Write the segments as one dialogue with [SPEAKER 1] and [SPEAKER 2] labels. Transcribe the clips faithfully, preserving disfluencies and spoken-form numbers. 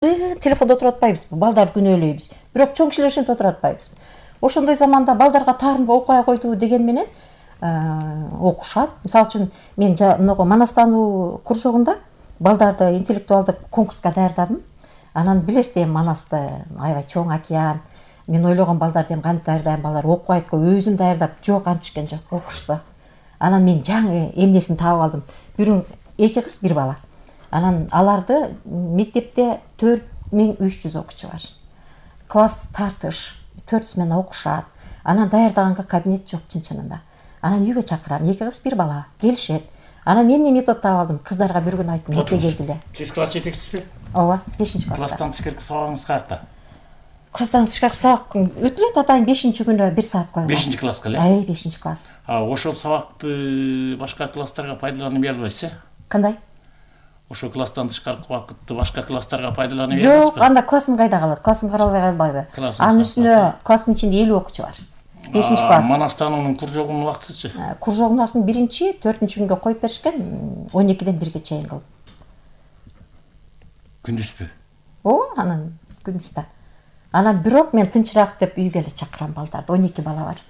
[SPEAKER 1] телефондо отуруп атпайбызбы, балдарды күнөөлөйбүз. Бирок чоң кишилер ошентип отуруп атпайбызбы. Ошондой заманда балдарга таарынбай окуя койду деген менен окушат. Мисалы үчүн мен могу манастануу кружогунда балдарды интеллектуалдык конкурска даярдадым. Анан билесиз, эми Манасты аябай чоң океан. Мен ойлогон балдарды эми кантип даярдайм, балдар окубайт го, өзүм даярдап, жок, антишкен жок, окушту. Анан мен жаңы эмнесин таап алдым. Бирөө эки кыз, бир бала. Анан аларды мектепте төрт миң үч жүз окуучу бар. Класс тартыш, төрт смена окушат. Анан даярдаганга кабинет жок чын-чынында. Анан үйгө чакырам, эки кыз, бир бала, келишет. Анан эмне метод таап алдым? Кыздарга бир күн айттым, эрте келгиле.
[SPEAKER 2] Сиз класс жетекчисизби?
[SPEAKER 1] Ооба, бешинчи класста.
[SPEAKER 2] Класстан тышкаркы сабагыңыз каякта?
[SPEAKER 1] Класстан тышкаркы сабак өтүлөт, атайын бешинчи күнү бир саат койгон.
[SPEAKER 2] бешинчи класска эле?
[SPEAKER 1] Ай, бешинчи класс.
[SPEAKER 2] А ошол сабакты башка класстарга пайдаланбай албайсыз, э?
[SPEAKER 1] Кандай?
[SPEAKER 2] Ошол класстан тышкаркы убакытты башка класстарга пайдаланбай албайсызбы?
[SPEAKER 1] Жок, анда классым кайда калат? Классым каралбай калбайбы? Анын үстүнө класстын ичинде элүү окуучу бар. бешинчи класс.
[SPEAKER 2] Манастануунун кружогунун убактысычы?
[SPEAKER 1] Кружогунун биринчи, төртүнчү күнгө коюп беришкен, он экиден бирге чейин кылып.
[SPEAKER 2] Күндүзбү?
[SPEAKER 1] Ооба, анан күндүз да. Анан бирок мен тынчыраак деп үйгө эле чакырам балдарды. он эки бала бар.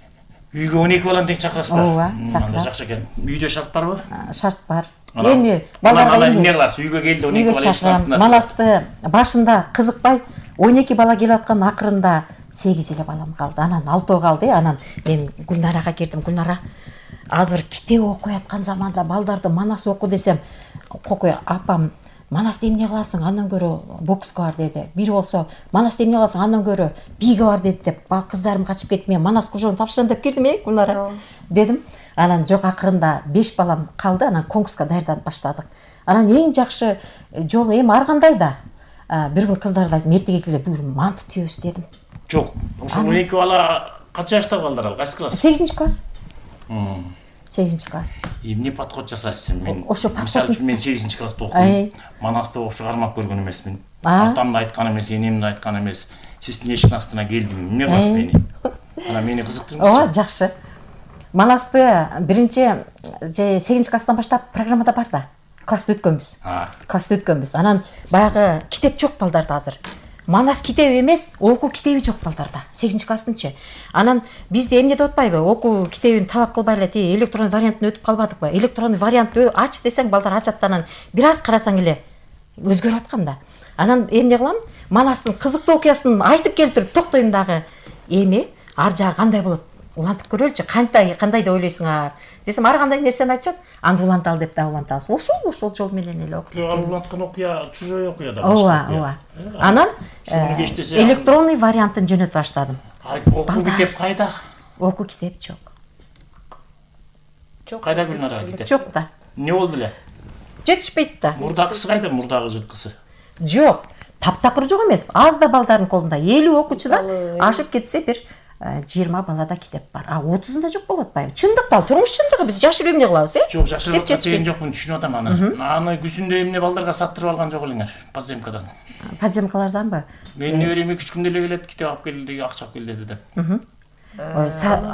[SPEAKER 2] Үйгө он эки баланы тең чакырасызбы?
[SPEAKER 1] Ооба, чакырам.
[SPEAKER 2] Анда жакшы экен. Үйдө шарт барбы?
[SPEAKER 1] Шарт бар.
[SPEAKER 2] Эми балдарга эмне кыласыз? Үйгө келди он эки бала эшикте.
[SPEAKER 1] Манасты башында кызыкпай он эки бала келип аткан, акырында сегиз эле балам калды. Анан алтоо калды. Анан мен Гүлнарага кирдим. Гүлнара, азыр китеп окуй аткан заманда балдарды Манас оку десем, кокуй апам, Манасты эмне кыласың, андан көрө бокска бар деди. Бири болсо, Манасты эмне кыласың, андан көрө бийге бар деди деп, кыздарым качып кетип, мен Манас кружогун тапшырам деп кирдим, э, Гүлнара дедим. Анан жок, акырында беш балам калды, анан конкурска даярданып баштадык. Анан эң жакшы жолу эми ар кандай да. Бир күн кыздарды айттым, эртеге келе бүгүн манты түйөбүз дедим.
[SPEAKER 2] Жок, ошол он эки бала канча жашта балдар ал? Кайсы класс?
[SPEAKER 1] сегизинчи класс. сегизинчи класс.
[SPEAKER 2] Эмне подход жасайсыз? Мен
[SPEAKER 1] ошо
[SPEAKER 2] подход үчүн мен сегизинчи класста окудум. Манасты окушу кармап көргөн эмесмин. Атам да айткан эмес, энем да айткан эмес. Сиздин эшиктин астына келдим. Эмне кыласыз мени? Анан мени кызыктырыңызчы.
[SPEAKER 1] Ооба, жакшы. Манасты биринчи сегизинчи класстан баштап программада бар да. Класста өткөнбүз. Класста өткөнбүз. Анан баягы китеп жок балдарда азыр. Манас китеби эмес, окуу китеби жок балдарда. сегизинчи класстынчы. Анан бизде эмне деп атпайбы? Окуу китебин талап кылбай эле ти электронный вариантын өтүп калбадыкпы? Электронный вариант ач десең, балдар ачат, анан бир аз карасаң эле өзгөрүп аткан да. Анан эмне кылам? Манастын кызыктуу окуясын айтып келтирип токтойм дагы. Эми ар жагы кандай болот? Улантып көрөлүчү, кандай кандай деп ойлойсуңар десем, ар кандай нерсени айтышат. Анды уланталы деп да улантабыз. Ошол ошол жол менен эле окуп.
[SPEAKER 2] Ал уланткан окуя чужой окуя да.
[SPEAKER 1] Ооба, ооба. Анан электронный вариантын жөнөтүп баштадым.
[SPEAKER 2] Окуу китеп кайда?
[SPEAKER 1] Окуу китеп жок.
[SPEAKER 2] Жок. Кайда Гүлнара китеп?
[SPEAKER 1] Жок да.
[SPEAKER 2] Эмне болду эле?
[SPEAKER 1] Жетишпейт да.
[SPEAKER 2] Мурдагысы кайда, мурдагы жырткысы?
[SPEAKER 1] Жок. Таптакыр жок эмес. Аз да балдардын колунда элүү окуучудан ашып кетсе бир жыйырма балада китеп бар. А отузунда жок болуп атпайбы? Чындыкта, турмуш чындыгы, биз жашырып эмне кылабыз, э?
[SPEAKER 2] Жок, жашырып жаткан жокмун, түшүнүп атам аны. Аны күзүндө эмне балдарга саттырып алган жок элеңер, подземкадан.
[SPEAKER 1] Подземкаларданбы?
[SPEAKER 2] Менин неберем эки үч күндө эле келет, китеп алып кел деди, акча алып кел деди деп.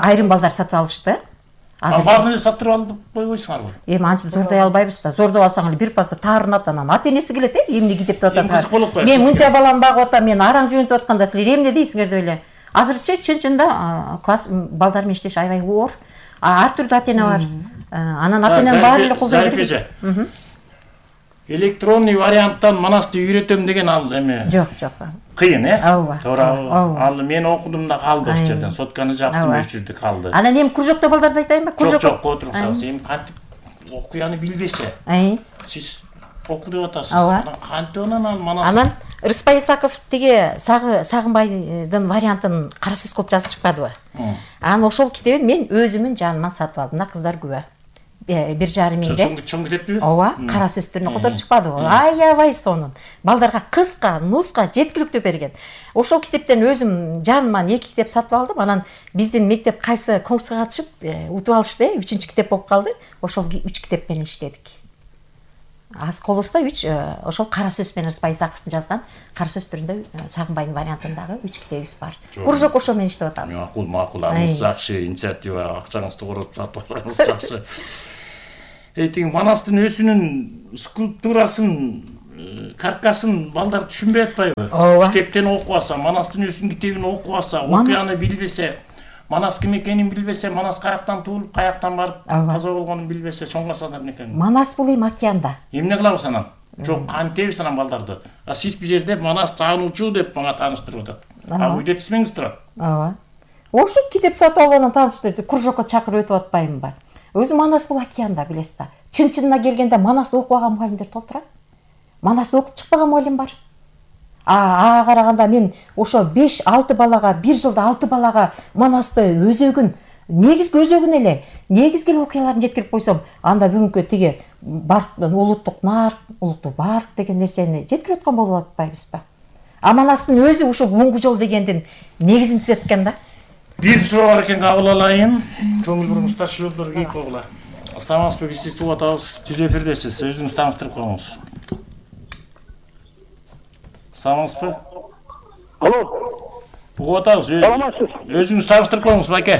[SPEAKER 1] Айрым балдар сатып алышты.
[SPEAKER 2] А баарын эле саттырып алып койбойсуңарбы?
[SPEAKER 1] Эми антип зордой албайбыз да. Зордоп алсаң эле бир пазда таарынат, анан ата энеси келет, э, эмне китеп деп атасыңар. Мен мынча балам багып атам, мен араң жөнөтүп атканда силер эмне дейсиңер деп эле. Азырчы чын-чында класс балдар менен иштеш аябай оор. Ар түрдүү ата эне бар. Анан ата эненин баары эле колдой берет.
[SPEAKER 2] Электронный варианттан Манасты үйрөтөм деген ал эми.
[SPEAKER 1] Жок, жок.
[SPEAKER 2] Кыйын, э?
[SPEAKER 1] Ооба.
[SPEAKER 2] Туура. Ал мен окудум да калды ошол жерден. Сотканы жаптым, өч жүрдү калды.
[SPEAKER 1] Анан эми кружокто балдарды айтайынбы?
[SPEAKER 2] Жок, жок, отурсаңыз. Эми кантип окуяны билбесе. Сиз оку деп атасыз. Кантип анан ал Манас?
[SPEAKER 1] Анан Рыспай Исаков тиги Сагынбайдын вариантын кара сөз кылып жазып чыкпадыбы? Анан ошол китебин мен өзүмүн жаныма сатып алдым да, кыздар күбө. бир жарым миңде.
[SPEAKER 2] Чоң китеппи?
[SPEAKER 1] Ооба, кара сөз түрүнө которуп чыкпадыбы? Аябай сонун. Балдарга кыска, нуска, жеткиликтүү берген. Ошол китептен өзүм жаныма эки китеп сатып алдым. Анан биздин мектеп кайсы конкурска катышып утуп алышты, үчүнчү китеп болуп калды. Ошол үч китеп менен иштедик. Аз колубузда үч ошол кара сөз менен Рыспай Исаковдун жазган кара сөз түрүндө Сагынбайдын вариантындагы үч китебибиз бар. Кружок ошол менен иштеп атабыз.
[SPEAKER 2] Макул, макул, аныңыз жакшы, инициатива, акчаңызды коротуп сатып алганыңыз жакшы. Эйтиң Манастын өзүнүн скульптурасын каркасын балдар түшүнбөй атпайбы?
[SPEAKER 1] Ооба.
[SPEAKER 2] Китептен окуп алса, Манастын өзүнүн китебин окуп алса, окуяны билбесе, Манас ким экенин билбесе, Манас каяктан туулуп, каяктан барып каза болгонун билбесе, чоңгасадар экен.
[SPEAKER 1] Манас бул эми океанда.
[SPEAKER 2] Эмне кылабыз анан? Жок, кантебиз анан балдарды? А сиз бул жерде Манас таануучу деп мага тааныштырып атат. А үйдө тисмеңиз турат.
[SPEAKER 1] Ооба. Ошо китеп сатып алгандан тааныштырды, кружокко чакырып өтүп атпаймынбы? Өзү Манас бул океанда, билесиз да. Чын-чынына келгенде Манасты окубаган мугалимдер толтура. Манасты окуп чыкпаган мугалим бар. А ага караганда мен ошо беш алты балага, бир жылда алты балага Манасты өзөгүн, негизги өзөгүн эле, негизги эле окуяларын жеткирип койсом, анда бүгүнкү тиги барктын улуттук нарк, улуттук барк деген нерсени жеткирип аткан болуп атпайбызбы? А Манастын өзү ушул Уңгу жол дегендин негизин түзөткөн да.
[SPEAKER 2] Бир суроо бар экен, кабыл алайын. Көңүл буруңуздар, шылдыр кейип койгула. Саламатсызбы, биз сизди угуп атабыз. Түз эфирдесиз. Өзүңүз тааныштырып коюңуз. Саламатсызбы?
[SPEAKER 3] Алло.
[SPEAKER 2] Угуп атабыз.
[SPEAKER 3] Саламатсыз.
[SPEAKER 2] Өзүңүз тааныштырып коюңуз, байке.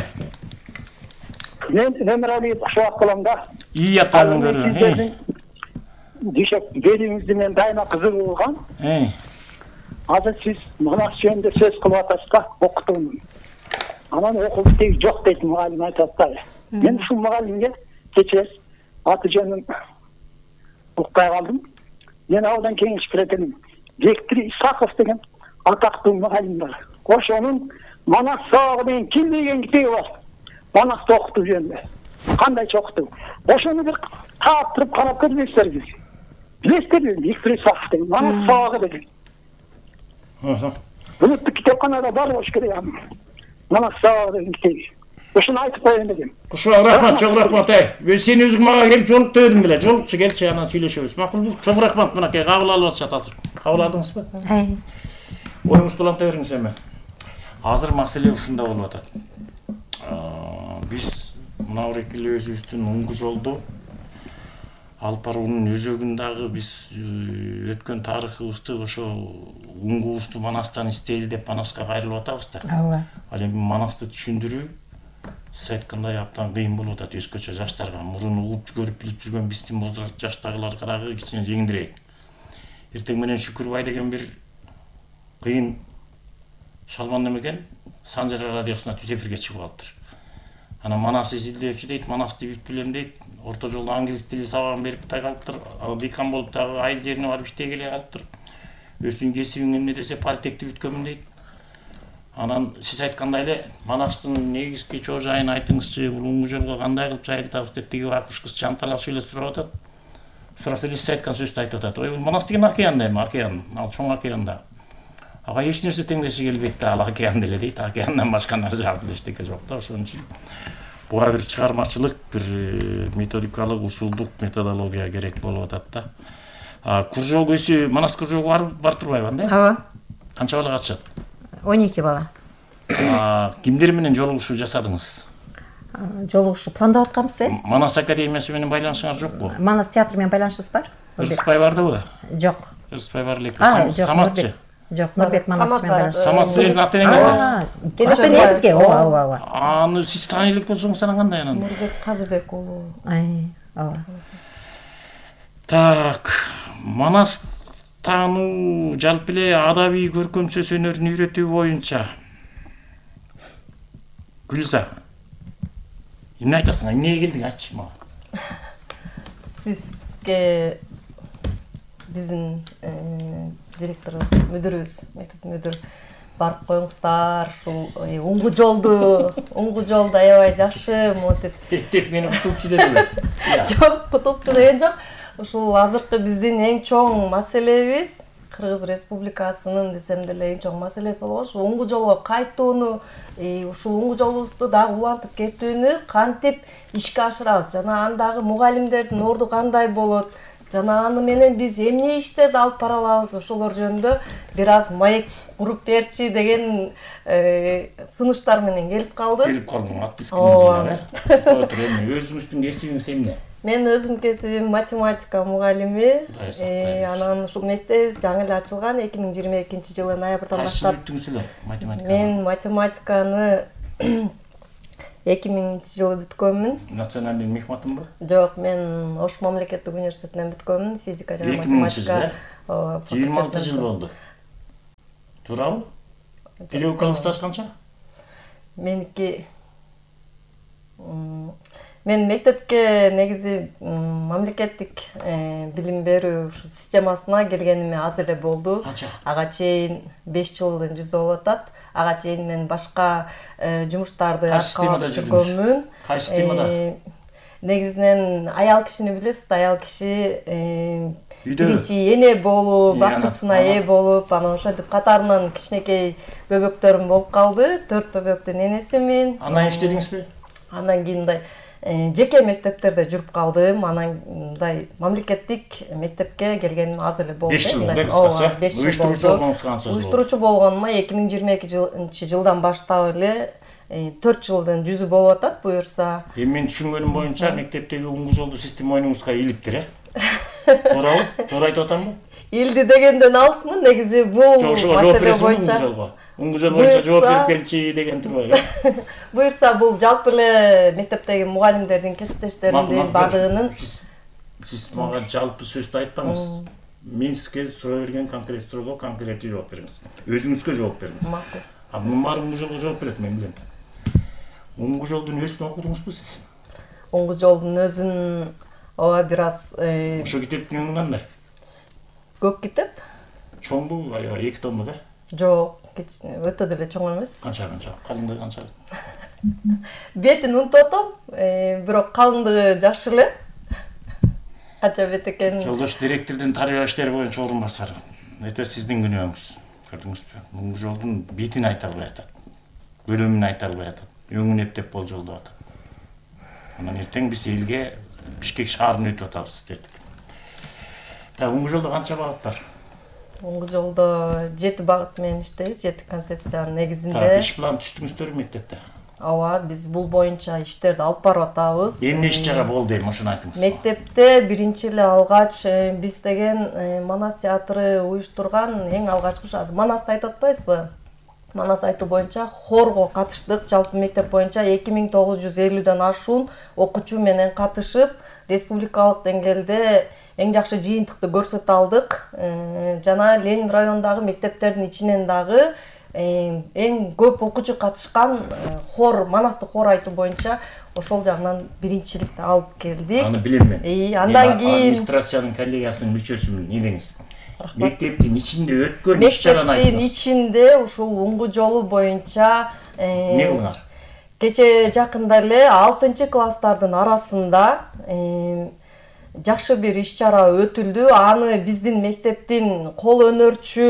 [SPEAKER 3] Мен Немирали Кушубак болом да.
[SPEAKER 2] Ии аттарын көрүп.
[SPEAKER 3] Дишек бериңизди мен дайыма кызыгып алгам.
[SPEAKER 2] Э.
[SPEAKER 3] Азыр сиз Манас жөнүндө сөз кылып атасыз да, окутуумун. Анан окуп теги жок дейт мугалим айтат да. Мен ушул мугалимге кечээ аты жөнүн укпай калдым. Мен абдан кеңеш беретиним. Бектир Исаков деген атактуу мугалим бар. Ошонун Манас сабагы деген ким деген китеби бар. Манасты окутуу жөнүндө. Кандайча окутуу. Ошону бир таап туруп карап көрбөйсүзбү? Билесиздерби? Бектир Исаков деген Манас сабагы деген. Улуттук китепканада бар болуш керек аны. Манас сабагы деген китеби. Ошону айтып коеюн дегем.
[SPEAKER 2] Кушубак, рахмат, чоң рахмат. Эй, сен өзүң мага келип жолук дедиң беле. Жолукчу келчи, анан сүйлөшөбүз. Макулбу? Чоң рахмат, мынакей кабыл алып атышат азыр. Кабыл алдыңызбы?
[SPEAKER 1] Ай.
[SPEAKER 2] Оюңузду уланта бериңиз эми. Азыр маселе ушунда болуп атат. Биз мына бир эки эле өзүбүздүн Уңгу жолду алып баруунун өзөгүн дагы биз өткөн тарыхыбызды ошо Уңгубузду Манастан издейли деп Манаска кайрылып атабыз да.
[SPEAKER 1] Ооба.
[SPEAKER 2] Ал эми Манасты түшүндүрүү сиз айткандай абдан кыйын болуп атат өзгөчө жаштарга. Мурун угуп көрүп билип жүргөн биздин возраст жаштагыларга дагы кичине жеңилирээк. Эртең менен Шүкүрбай деген бир кыйын шалман неме экен, Санжар радиосуна түз эфирге чыгып калыптыр. Анан Манас изилдөөчү дейт, Манасты бүт билем дейт. Орто жолдо англис тили сабагын берип тай калыптыр. Декан болуп дагы айыл жерине барып иштей келе калыптыр. Өзүнүн кесибиң эмне десе политехти бүткөнмүн дейт. Анан сиз айткандай эле Манастын негизги чоо жайын айтыңызчы, бул Уңгу жолго кандай кылып жайылтабыз деп тиги акыш кыз жанталашып эле сурап атат. Сураса эле сиз айткан сөздү айтып атат. Ой, Манас деген океан эми, океан, ал чоң океанда. Ага эч нерсе теңдеши келбейт да, ал океан деле дейт. Океандан башка нерсе эчтеке жок да, ошон үчүн буга бир чыгармачылык, бир методикалык, усулдук методология керек болуп атат да. А кружок өсү, Манас кружогу бар бар турбайбы анда?
[SPEAKER 1] Ооба.
[SPEAKER 2] Канча бала катышат?
[SPEAKER 1] он эки бала.
[SPEAKER 2] А кимдер менен жолугушуу жасадыңыз?
[SPEAKER 1] Жолугушуу пландап атканбыз, э?
[SPEAKER 2] Манас академиясы менен байланышыңар жокпу?
[SPEAKER 1] Манас театры менен байланышыбыз бар.
[SPEAKER 2] Ырсызбай бардыбы?
[SPEAKER 1] Жок.
[SPEAKER 2] Ырсызбай бар элек.
[SPEAKER 1] А, жок,
[SPEAKER 2] Саматчы.
[SPEAKER 1] Жок, Нурбек Манас менен байланышыбыз.
[SPEAKER 2] Самат сиздин ата энеңизби?
[SPEAKER 1] Ата энебизге, ооба, ооба, ооба.
[SPEAKER 2] Аны сиз тааный элек болсоңуз анан кандай анан?
[SPEAKER 4] Нурбек Казыбек уулу.
[SPEAKER 1] Ай, ооба.
[SPEAKER 2] Так, Манас таануу жалпы эле адабий көркөм сөз өнөрүн үйрөтүү боюнча Гүлза, эмне айтасың? Эмнеге келдиң, айтчы мага.
[SPEAKER 4] Сизге биздин директорубуз, мүдүрүбүз, мектеп мүдүр барып коюңуздар, ушул Уңгу жолду, Уңгу жолду аябай жакшы монтип.
[SPEAKER 2] Тек мени кутупчу дедиби?
[SPEAKER 4] Жок, кутупчу деген жок. Ушул азыркы биздин эң чоң маселебиз Кыргыз Республикасынын десем деле эң чоң маселеси болгон ушул Уңгу жолго кайтууну, ушул Уңгу жолубузду дагы улантып кетүүнү кантип ишке ашырабыз жана андагы мугалимдердин орду кандай болот, жана аны менен биз эмне иштерди алып бара алабыз, ошолор жөнүндө бир аз маек куруп берчи деген сунуштар менен келип калды.
[SPEAKER 2] Келип калдым, отпискаңыз. Ооба. Отур, эми өзүңүздүн кесибиңиз эмне?
[SPEAKER 4] Мен өзүм кесибим математика мугалими. Анан ушул мектебибиз жаңы эле ачылган эки миң жыйырма экинчи жылы ноябрдан баштап.
[SPEAKER 2] Кайсы бүттүңүз эле математиканы?
[SPEAKER 4] Мен математиканы эки миңинчи жылы бүткөнмүн.
[SPEAKER 2] Национальный мехматымбы?
[SPEAKER 4] Жок, мен Ош мамлекеттик университетинен бүткөнмүн, физика жана математика
[SPEAKER 2] жыйырма алты жыл болду. Туурабы? Педагогикалык стаж канча?
[SPEAKER 4] Меники мен мектепке негизи мамлекеттик билим берүү системасына келгениме аз эле болду. Ага чейин беш жылдын жүзү болуп атат. Ага чейин мен башка жумуштарды аткарып жүргөмүн.
[SPEAKER 2] Кайсы системада?
[SPEAKER 4] Негизинен аял кишини билесиз, аял киши биринчи эне болуп, бактысына ээ болуп, анан ошентип катарынан кичинекей бөбөктөрүм болуп калды. Төрт бөбөктүн энесимин.
[SPEAKER 2] Анан иштедиңизби?
[SPEAKER 4] Андан кийин мындай жеке мектептерде жүрүп калдым. Анан мындай мамлекеттик мектепке келгеним аз эле болду.
[SPEAKER 2] беш жыл болду, кыскасы.
[SPEAKER 4] беш жыл
[SPEAKER 2] Уюштуруучу болгонуңуз канча жыл болду?
[SPEAKER 4] Уюштуруучу болгонума эки миң жыйырма экинчи жылдан баштап эле төрт жылдын жүзү болуп атат буюрса.
[SPEAKER 2] Эми мен түшүнгөнүм боюнча мектептеги уңгу жолду система оюңузга илиптир, э? Туурабы? Туура айтып атамбы?
[SPEAKER 4] Илди дегенден алысмын, негизи бул маселе боюнча.
[SPEAKER 2] Уңгу жол боюнча жооп берип келчи деген турбайбы?
[SPEAKER 4] Буюрса бул жалпы эле мектептеги мугалимдердин, кесиптештеримдин баардыгынын.
[SPEAKER 2] Сиз мага жалпы сөздү айтпаңыз. Мен сизге суроо берген конкрет суроого конкреттүү жооп бериңиз. Өзүңүзгө жооп бериңиз.
[SPEAKER 4] Макул.
[SPEAKER 2] А мунун баары уңгу жолго жооп берет, мен билем. Уңгу жолдун өзүн окудуңузбу сиз?
[SPEAKER 4] Уңгу жолдун өзүн ооба бир аз
[SPEAKER 2] ошо китептин кандай?
[SPEAKER 4] Көп китеп.
[SPEAKER 2] Чоңбу, аябай эки томдук, э?
[SPEAKER 4] Жок, өтө деле чоң эмес.
[SPEAKER 2] Канча канча? Калыңдыгы канча?
[SPEAKER 4] Бетин унутуп атам, бирок калыңдыгы жакшы эле. Канча бет экенин.
[SPEAKER 2] Жолдош директордун тарбия иштери боюнча орун басары. Это сиздин күнөөңүз. Көрдүңүзбү? Уңгу жолдун бетин айта албай атат. Бөлүмүн айта албай атат. Өңүн эптеп болжолдоп атат. Анан эртең биз элге Бишкек шаарына өтүп атабыз дедик. Та уңгу жолдо канча багыт бар?
[SPEAKER 4] Уңгу жолдо жети багыт менен иштейбиз, жети концепциянын негизинде.
[SPEAKER 2] Та иш план түздүңүздөрбү мектепте?
[SPEAKER 4] Ооба, биз бул боюнча иштерди алып барып атабыз.
[SPEAKER 2] Эмне иш чара болду эми ошону айтыңыз.
[SPEAKER 4] Мектепте биринчи эле алгач биз деген Манас театры уюштурган эң алгачкы азыр Манасты айтып атпайбызбы? Манас айтуу боюнча хорго катыштык. Жалпы мектеп боюнча эки миң тогуз жүз элүүдөн ашуун окуучу менен катышып, республикалык деңгээлде эң жакшы жыйынтыкты көрсөтө алдык. Жана Ленин районундагы мектептердин ичинен дагы эң көп окуучу катышкан хор, Манасты хор айтуу боюнча ошол жагынан биринчиликти алып келдик.
[SPEAKER 2] Аны билем мен.
[SPEAKER 4] И андан кийин
[SPEAKER 2] администрациянын коллегиясынын мүчөсүмүн, элеңиз. Мектептин ичинде өткөн иш-чараны айтыңыз.
[SPEAKER 4] Мектептин ичинде ушул уңгу жолу боюнча
[SPEAKER 2] эмне кылыңар?
[SPEAKER 4] Кече жакында эле алтынчы класстардын арасында жакшы бир иш-чара өтүлдү. Аны биздин мектептин кол өнөрчү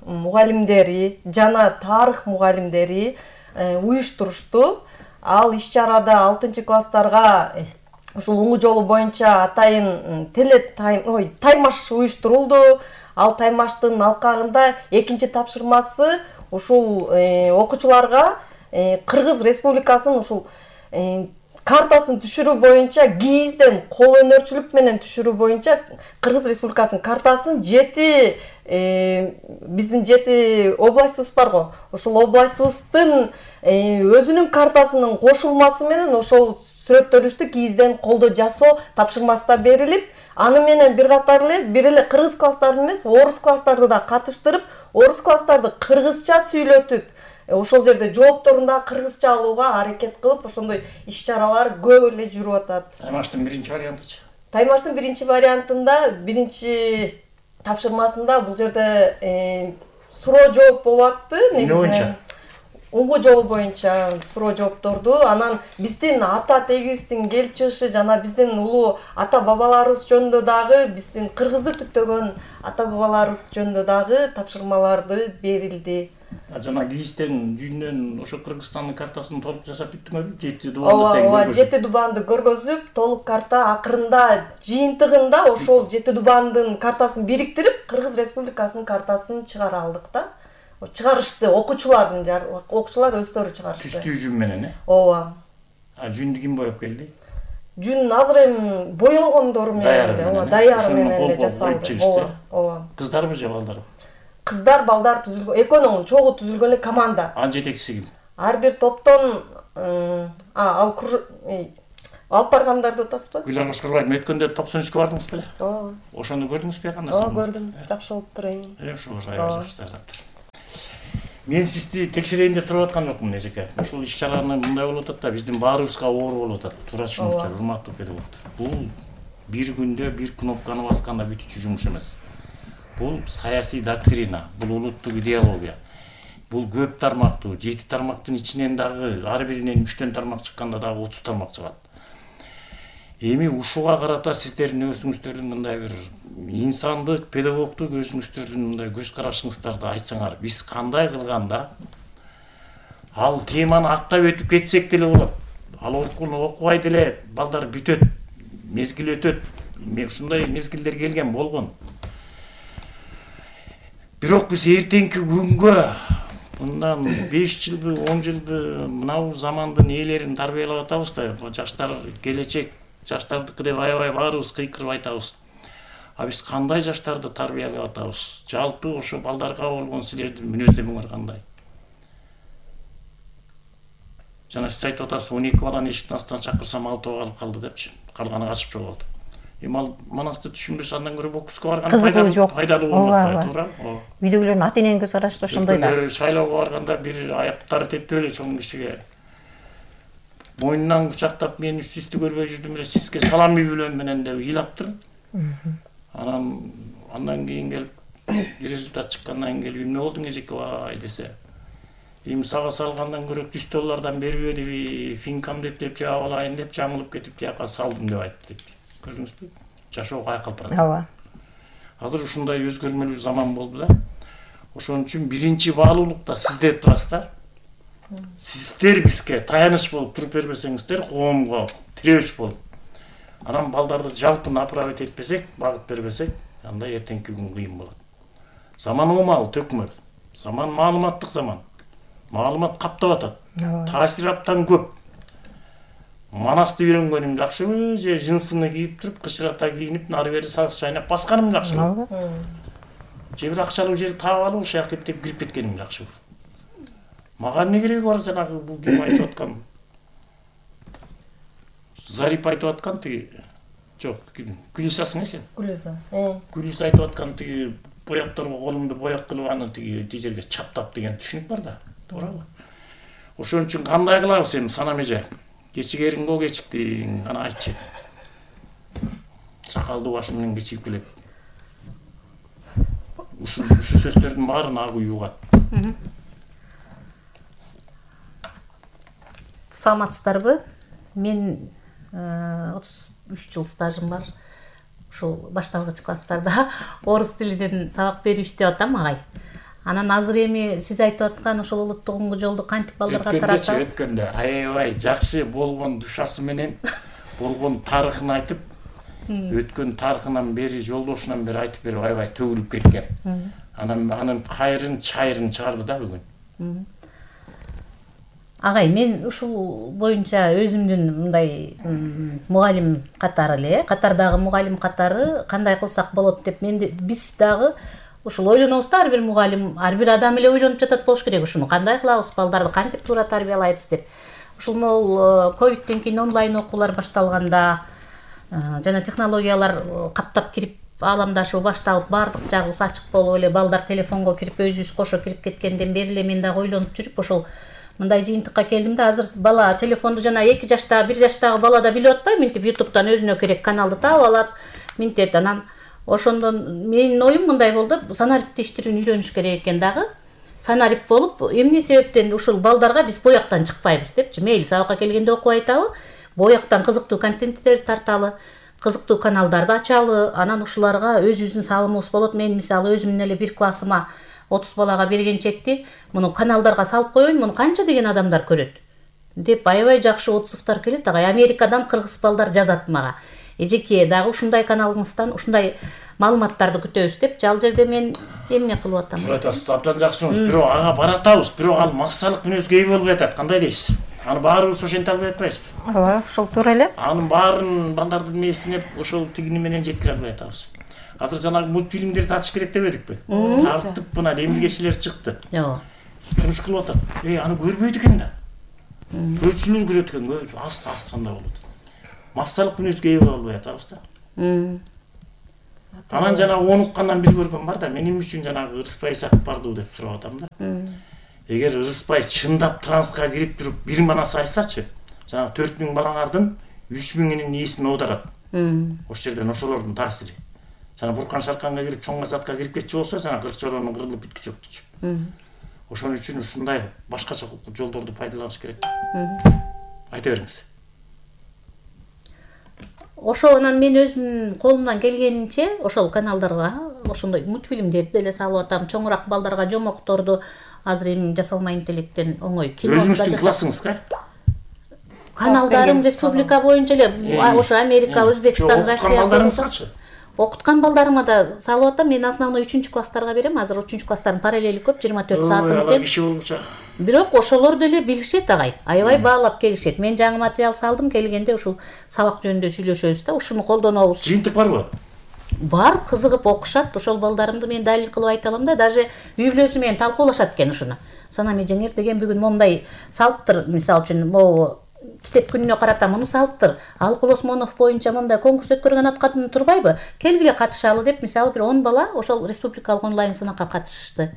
[SPEAKER 4] мугалимдери жана тарых мугалимдери уюштурушту. Ал иш-чарада алтынчы класстарга ушул уңгу жолу боюнча атайын теле тайм, ой, таймаш уюштурулду. Ал таймаштын алкагында экинчи тапшырмасы ушул окуучуларга Кыргыз Республикасынын ушул картасын түшүрүү боюнча, гиизден кол өнөрчүлүк менен түшүрүү боюнча Кыргыз Республикасынын картасын жети биздин жети областыбыз барго. Ошол областыбыздын өзүнүн картасынын кошулмасы менен ошол сүрөттөлүштү гиизден колдо жасоо тапшырмасы берилип, аны менен бир катар эле бир эле кыргыз класстарын эмес, орус класстарды да катыштырып, орус класстарды кыргызча сүйлөтүп, ошол жерде жоопторун да кыргызча алууга аракет кылып, ошондой иш-чаралар көп эле жүрүп атат.
[SPEAKER 2] Таймаштын биринчи вариантычы?
[SPEAKER 4] Таймаштын биринчи вариантында, биринчи тапшырмасында бул жерде суроо жооп болуп атты, негизинен. Уңгу жолу боюнча суроо жоопторду, анан биздин ата тегибиздин келип чыгышы жана биздин улуу ата бабаларыбыз жөнүндө дагы, биздин кыргызды түптөгөн ата бабаларыбыз жөнүндө дагы тапшырмаларды берилди.
[SPEAKER 2] Жана гиизден жүйүнөн ошо Кыргызстандын картасын толук жасап бүттүңөрбү? жети дубанды тең
[SPEAKER 4] көргөзүп. Ооба, жети дубанды көргөзүп, толук карта акырында жыйынтыгында ошол жети дубандын картасын бириктирип, Кыргыз Республикасынын картасын чыгара алдык да. Чыгарышты окуучулардын, окуучулар өздөрү чыгарышты.
[SPEAKER 2] Түстүү жүн менен, э?
[SPEAKER 4] Ооба.
[SPEAKER 2] А жүндү ким боеп келди?
[SPEAKER 4] Жүн азыр эми боелгондору менен эле, ооба, даяры менен эле жасалды.
[SPEAKER 2] Ооба,
[SPEAKER 4] ооба.
[SPEAKER 2] Кыздарбы же балдарбы?
[SPEAKER 4] Кыздар, балдар түзүлгөн, экөөнүн чогуу түзүлгөн эле команда.
[SPEAKER 2] Анын жетекчиси ким?
[SPEAKER 4] Ар бир топтон а ал Алып баргандарды атасызбы?
[SPEAKER 2] Гүлнар Кошкорбаева өткөндө токсон үчкө бардыңыз беле?
[SPEAKER 4] Ооба.
[SPEAKER 2] Ошону көрдүңүзбү кандай?
[SPEAKER 4] Ооба, көрдүм. Жакшы болуптур.
[SPEAKER 2] Э, ошо аябай жакшы тараптыр. Мен сизди текшерейин деп туруп аткан жокмун, эжеке. Ушул иш-чараны мындай болуп атат да, биздин баарыбызга оор болуп атат. Туура түшүнүңүздөр, урматтуу педагогдор. Бул бир күндө бир кнопканы басканда бүтүчү жумуш эмес. Бул саясий доктрина, бул улуттук идеология. Бул көп тармактуу, жети тармактын ичинен дагы ар биринен үчтөн тармак чыкканда дагы отуз тармак чыгат. Эми ушуга карата сиздердин өзүңүздөрдүн мындай бир инсандык, педагогдук өзүңүздөрдүн мындай көз карашыңыздарды айтсаңар, биз кандай кылганда ал теманы аттап өтүп кетсек деле болот. Ал окууну окубай деле балдар бүтөт, мезгил өтөт. Ушундай мезгилдер келген болгон. Бирок биз эртеңки күнгө мындан беш жылбы, он жылбы мынау замандын ээлерин тарбиялап атабыз да, жаштар келечек, жаштардыкы деп аябай баарыбыз кыйкырып айтабыз. А биз кандай жаштарды тарбиялап атабыз? Жалпы ошо балдарга болгон силердин мүнөздөмүңөр кандай? Жана сиз айтып атасыз, он эки баланы эшиктин астынан чакырсам алтоо калып калды депчи. Калганы качып жоголду. Эми ал манасты түшүнбөсө андан көрө бокско барган пайдалуу пайдалуу болот, туура? Ооба.
[SPEAKER 1] Үйдөгүлөрдүн ата эненин көз карашы да ошондой да.
[SPEAKER 2] Шайлоого барганда бир аяктары тептеп эле чоң кишиге мойнунан кучактап, мен сизди көрбөй жүрдүм эле, сизге салам билем менен деп ыйлаптыр. Анан андан кийин келип результат чыккандан кийин келип эмне болдуң эжеке бай десе, эми сага салгандан көрө жүз доллардан бербедиби, финкам деп деп жаап алайын деп жаңылып кетип тияка салдым деп айтты деп. Көрдүңүзбү? Жашоого айкалып барат.
[SPEAKER 1] Ооба.
[SPEAKER 2] Азыр ушундай өзгөрмөлүү заман болду да. Ошон үчүн биринчи баалуулукта сиздер турасыздар. Сиздер бизге таяныч болуп туруп бербесеңиздер, коомго тирөөч болуп. Анан балдарды жалпы направить этпесек, багыт бербесек, анда эртеңки күн кыйын болот. Заман оомал төкмөр. Заман маалыматтык заман. Маалымат каптап атат. Таасир абдан көп. Манасты үйрөнгөнүм жакшыбы, же жынсыны кийип туруп, кычырата кийинип, нары бери сагыз чайнап басканым жакшыбы? Же бир акчалуу жер таап алып, ошол жака кептеп кирип кеткеним жакшыбы? Мага эмне кереги бар жанагы бул ким айтып аткан? Зарип айтып аткан тиги, жок, Гүлисасың э сен?
[SPEAKER 4] Гүлиса.
[SPEAKER 2] Гүлиса айтып аткан тиги боякторго колумду бояк кылып аны тиги тиги жерге чаптап деген түшүнүк бар да, туурабы? Ошон үчүн кандай кылабыз эми санам эже? Кечигериңго кечиктиң, ана айтчы. Сакалдуу башым менен кечигип келет. Ушул ушул сөздөрдүн баарын ак үй угат.
[SPEAKER 5] Саламатсыздарбы? Мен отуз үч жыл стажым бар. Ушул башталгыч класстарда орус тилинен сабак берип иштеп атам, агай. Анан азыр эми сиз айтып аткан ошол улуттук оңгу жолду кантип балдарга таратабыз?
[SPEAKER 2] Өткөндө аябай жакшы болгон душасы менен болгон тарыхын айтып, өткөн тарыхынан бери, жолдошунан бери айтып берип аябай төгүлүп кеткен. Анан анын кайрын чайрын чыгарды да бүгүн.
[SPEAKER 5] Агай, мен ушул боюнча өзүмдүн мындай мугалим катары эле, катардагы мугалим катары кандай кылсак болот деп мен биз дагы ушул ойлонобуз да, ар бир мугалим, ар бир адам эле ойлонуп жатат болуш керек, ушуну кандай кылабыз, балдарды кантип туура тарбиялайбыз деп. Ушул могул ковидтен кийин онлайн окуулар башталганда, жана технологиялар каптап кирип, ааламдашуу башталып, баардык жагыбыз ачык болуп эле, балдар телефонго кирип, өзүбүз кошо кирип кеткенден бери эле мен дагы ойлонуп жүрүп, ошол мындай жыйынтыкка келдим да. Азыр бала телефонду жана эки жаштагы, бир жаштагы бала да билип атпайбы, минтип ютубтан өзүнө керек каналды таап алат, минтет. Анан ошондон менин оюм мындай болду, санариптештирүүнү үйрөнүш керек экен дагы. Санарип болуп, эмне себептен ушул балдарга биз бояктан чыкпайбыз депчи. Мейли сабакка келгенде окуп айтабы, бояктан кызыктуу контенттерди тарталы, кызыктуу каналдарды ачалы, анан ушуларга өзүбүздүн салымыбыз болот. Мен мисалы өзүмдүн эле бир классыма отуз балага берген чекти муну каналдарга салып коеюн, муну канча деген адамдар көрөт деп аябай жакшы отзывдар келет. Агай, Америкадан кыргыз балдар жазат мага. Эжеке, дагы ушундай каналыңыздан ушундай маалыматтарды күтөбүз деп. Ал жерде мен эмне кылып атам?
[SPEAKER 2] Туура айтасыз, абдан жакшысыңыз. Бирок ага баратабыз, бирок ал массалык мүнөзгө ээ болуп атат. Кандай дейсиз? Аны баарыбыз ошентип албай атпайбызбы?
[SPEAKER 1] Ооба, ошол туура эле.
[SPEAKER 2] Анын баарын балдардын мээсине ошол тигини менен жеткире албай атабыз. Азыр жанагы мультфильмдерди татыш керек дебедикпи? Тартып мына демилгечилер чыкты.
[SPEAKER 5] Жок.
[SPEAKER 2] Туруш кылып атат. Эй, аны көрбөйт экен да. Көрчүлөр көрөт экен, аст астында болот. массалык мүнөзгө ээ боло албай атабыз да. Анан жана он уккандан бир көргөн бар да, мен эмне үчүн жанагы Ырыспай Исаков бардуу деп сурап атам да. Эгер Ырыспай чындап транска кирип туруп бир манас айтсачы, жанагы төрт миң балаңардын үч миңинин ээсин оодарат. Ошол жерден ошолордун таасири. Жана Буркан Шарканга кирип, Чоң Масатка кирип кетчү болсо, жана кырк чоронун кырылып бүткүчү жоктучу. Ошон үчүн ушундай башкача жолдорду пайдаланыш керек. Айта бериңиз.
[SPEAKER 5] Ошол анан мен өзүм колумдан келгенинче ошол каналдарга ошондой мультфильмдерди деле салып атам, чоңураак балдарга жомокторду азыр эми жасалмайын электен оңой кино.
[SPEAKER 2] Өзүңүздүн классыңызга?
[SPEAKER 5] Каналдарым республика боюнча эле ошо Америка, Өзбекстан, Россия
[SPEAKER 2] балдарыңызгачы?
[SPEAKER 5] Окуткан балдарыма да салып атам. Мен основной үчүнчү класстарга берем. Азыр үчүнчү класстардын параллели көп, жыйырма төрт саатым экен.
[SPEAKER 2] Киши болчу.
[SPEAKER 5] Бирок ошолор деле билишет агай. Аябай баалап келишет. Мен жаңы материал салдым, келгенде ушул сабак жөнүндө сүйлөшөбүз да, ушуну колдонобуз.
[SPEAKER 2] Жыйынтык барбы?
[SPEAKER 5] Бар, кызыгып окушат. Ошол балдарымды мен далил кылып айта алам да, даже үй бүлөсү менен талкуулашат экен ушуну. Санаме жеңер деген бүгүн момундай салыптыр, мисалы үчүн могу китеп күнүнө карата муну салыптыр. Алкул Осмонов боюнча мындай конкурс өткөргөн ат катын турбайбы? Келгиле катышалы деп, мисалы бир он бала ошол республикалык онлайн сынакка катышышты.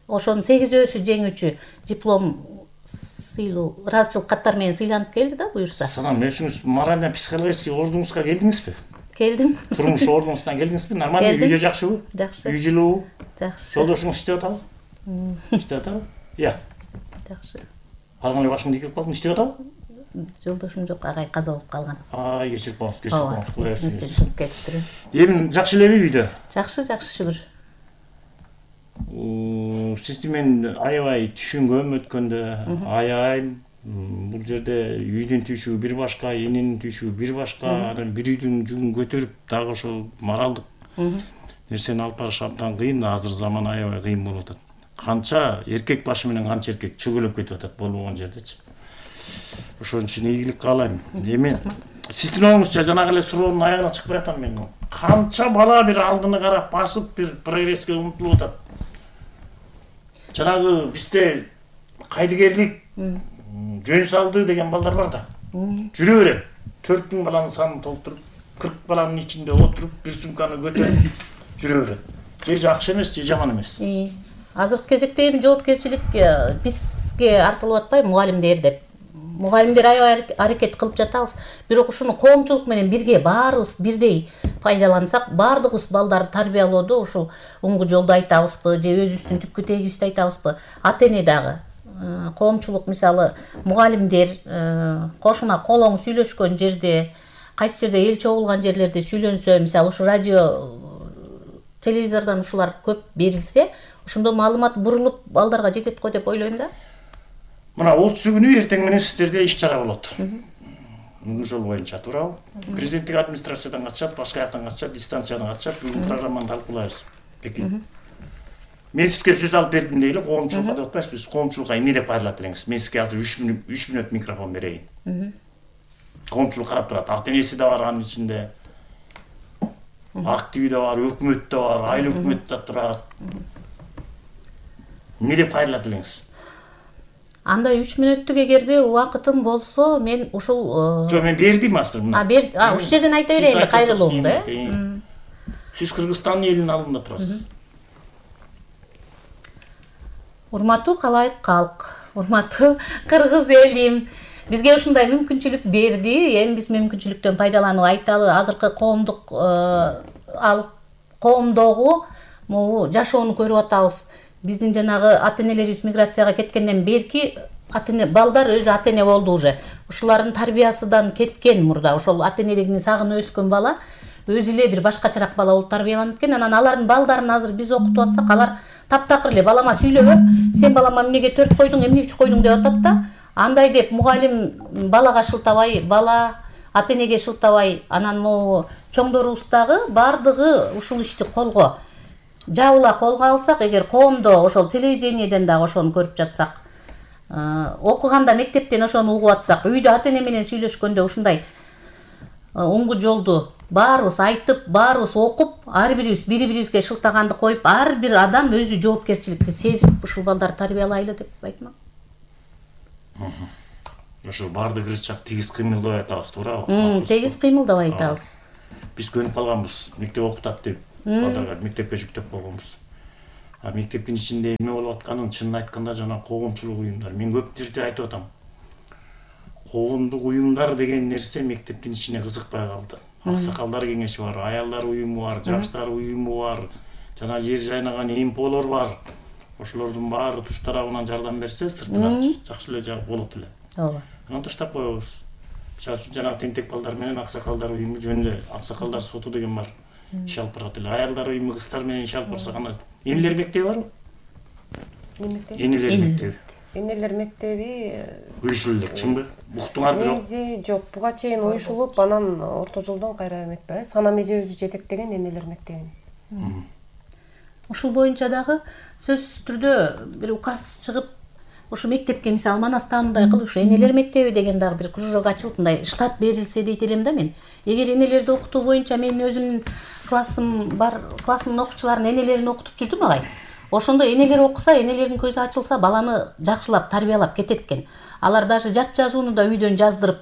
[SPEAKER 5] Ошонун сегизөөсү жеңүүчү диплом сыйлуу ыраазычылык каттар менен сыйланып келди да, буюрса.
[SPEAKER 2] Санам, өзүңүз морально психологический ордуңузга келдиңизби?
[SPEAKER 5] Келдим.
[SPEAKER 2] Турмуш ордуңуздан келдиңизби? Нормально үйдө жакшыбы?
[SPEAKER 5] Жакшы.
[SPEAKER 2] Үй жылуу?
[SPEAKER 5] Жакшы.
[SPEAKER 2] Жолдошуңуз иштеп атабы? Иштеп атабы? Иә.
[SPEAKER 5] Жакшы.
[SPEAKER 2] Алган эле башыңды ийгип калдың, иштеп атабы?
[SPEAKER 5] Жолдошум жок, агай каза болуп калган.
[SPEAKER 2] Ай, кечирип коңуз, кечирип коңуз.
[SPEAKER 5] Эсимизден чыгып кетиптир.
[SPEAKER 2] Эми жакшы элеби үйдө?
[SPEAKER 5] Жакшы, жакшы шүгүр.
[SPEAKER 2] Сизди мен аябай түшүнгөм өткөндө, аябай бул жерде үйдүн түйшүгү бир башка, эненин түйшүгү бир башка, анан бир үйдүн жүгүн көтөрүп дагы ошол моралдык нерсени алып барыш абдан кыйын, азыр заман аябай кыйын болуп атат. Канча эркек башы менен канча эркек чөгөлөп кетип атат болбогон жердечи. Ошон үчүн ийгилик каалайм. Эми сиздин оңуңузча жанагы эле суроонун аягына чыкпай атам мен. Канча бала бир алдыны карап басып бир прогресске умтулуп атат. Жанагы бизде кайдыгерлик жөн салды деген балдар бар да. Жүрө берет. төрт миң баланын санын толтуруп, кырк баланын ичинде отуруп, бир сумканы көтөрүп жүрө берет. Же жакшы эмес, же жаман эмес.
[SPEAKER 5] Азыркы кезекте эми жоопкерчилик бизге артылып атпайбы, мугалимдер деп. Мугалимдер аябай аракет кылып жатабыз. Бирок ушуну коомчулук менен бирге баарыбыз бирдей пайдалансак, баардыгыбыз балдарды тарбиялоодо ушул оңгу жолду айтабызбы, же өзүбүздүн түпкү тегибизди айтабызбы? Ата-эне дагы, коомчулук мисалы мугалимдер кошуна колоң сүйлөшкөн жерде, кайсы жерде эл чогулган жерлерде сүйлөнсө, мисалы ушу радио, телевизордон ушулар көп берилсе, ошондо маалымат бурулуп балдарга жетет го деп ойлойм да.
[SPEAKER 2] Мына отузу күнү эртең менен сиздерде иш-чара болот. Ошол боюнча туурабы? Президенттик администрациядан катышат, башка жактан катышат, дистанциядан катышат. Бүгүн программаны талкуулайбыз. Пекин. Мен сизге сөз алып бердим дейли, коомчулукка деп атпайбыз. Коомчулукка эмне деп кайрылат элеңиз? Мен сизге азыр үч мүнөт микрофон берейин. Коомчулук карап турат. Ата-энеси да бар анын ичинде. Активи да бар, өкмөт да бар, айыл өкмөт да турат. Эмне деп кайрылат элеңиз?
[SPEAKER 5] Андай үч мүнөттүк эгерде убакытым болсо, мен ушул
[SPEAKER 2] Жок, мен бердим азыр мына.
[SPEAKER 5] А, бер, а, ушул жерден айта берейин да кайрылуумду, э?
[SPEAKER 2] Сиз Кыргызстандын элинин алдында турасыз.
[SPEAKER 5] Урматтуу калайык калк, урматтуу кыргыз элим, бизге ушундай мүмкүнчүлүк берди. Эми биз мүмкүнчүлүктөн пайдаланып айталы, азыркы коомдук алып коомдогу могу жашоону көрүп атабыз. Биздин жанагы ата-энелерибиз миграцияга кеткенден берки ата-эне балдар өзү ата-эне болду уже. Ушулардын тарбиясынан кеткен мурда. Ошол ата-энелигин сагынып өскөн бала өзү эле бир башкачараак бала болуп тарбияланып кеткен. Анан алардын балдарын азыр биз окутуп атсак, алар таптакыр эле балама сүйлөбөп, сен балама эмнеге төрт койдуң, эмне үч койдуң деп атат да. Андай деп мугалим балага шылтабай, бала ата-энеге шылтабай, анан могу чоңдорубуз дагы бардыгы ушул ишти колго жабыла колго алсак, эгер коомдо ошол телевидениеден дагы ошону көрүп жатсак, окуганда мектептен ошону угуп атсак, үйдө ата-эне менен сүйлөшкөндө ушундай оңгу жолду баарыбыз айтып, баарыбыз окуп, ар бирибиз бири-бирибизге шылтаганды коюп, ар бир адам өзү жоопкерчиликти сезип ушул балдарды тарбиялайлы деп айтмак.
[SPEAKER 2] ошол баардык ырчак тегиз кыймылдабай атабыз, туурабы?
[SPEAKER 5] Тегиз кыймылдабай атабыз.
[SPEAKER 2] Биз көнүп калганбыз, мектеп окутат деп, балдарга мектепке жүктөп койгонбуз. А мектептин ичинде эме болуп атканын чынын айтканда жана коомчулук уюмдар. Мен көп жерде айтып атам. Коомдук уюмдар деген нерсе мектептин ичине кызыкпай калды. Аксакалдар кеңеши бар, аялдар уюму бар, жаштар уюму бар, жана жер жайнаган эмполор бар. Ошолордун баары туш тарабынан жардам берсе, сыртынан жакшы эле болот эле.
[SPEAKER 5] Ооба.
[SPEAKER 2] Анан таштап коебуз. Мисалы үчүн жанагы тентек балдар менен аксакалдар уюму жөнүндө аксакалдар соту деген бар. Иш алып барат эле. Аялдар уюму кыздар менен иш алып барса кандай? Энелер мектеби барбы?
[SPEAKER 4] Эмне мектеп?
[SPEAKER 2] Энелер мектеби.
[SPEAKER 4] Энелер мектеби
[SPEAKER 2] Уюшулу элек, чынбы? Уктуңар бирок.
[SPEAKER 4] негизи жок, буга чейин уюшулуп, анан орто жолдон кайра эметпей. Санам эжебиз жетектеген энелер мектебин.
[SPEAKER 5] Ушул боюнча дагы сөзсүз түрдө бир указ чыгып, ушу мектепке мисалы Манастандай кылып ушу энелер мектеби деген дагы бир кружок ачылып, мындай штат берилсе дейт элем да мен. Эгер энелерди окутуу боюнча мен өзүмдүн классым бар, классымдын окуучуларын энелерин окутуп жүрдүм агай. Ошондо энелер окуса, энелердин көзү ачылса, баланы жакшылап тарбиялап кетет экен. Алар даже жат жазууну да үйдөн жаздырып,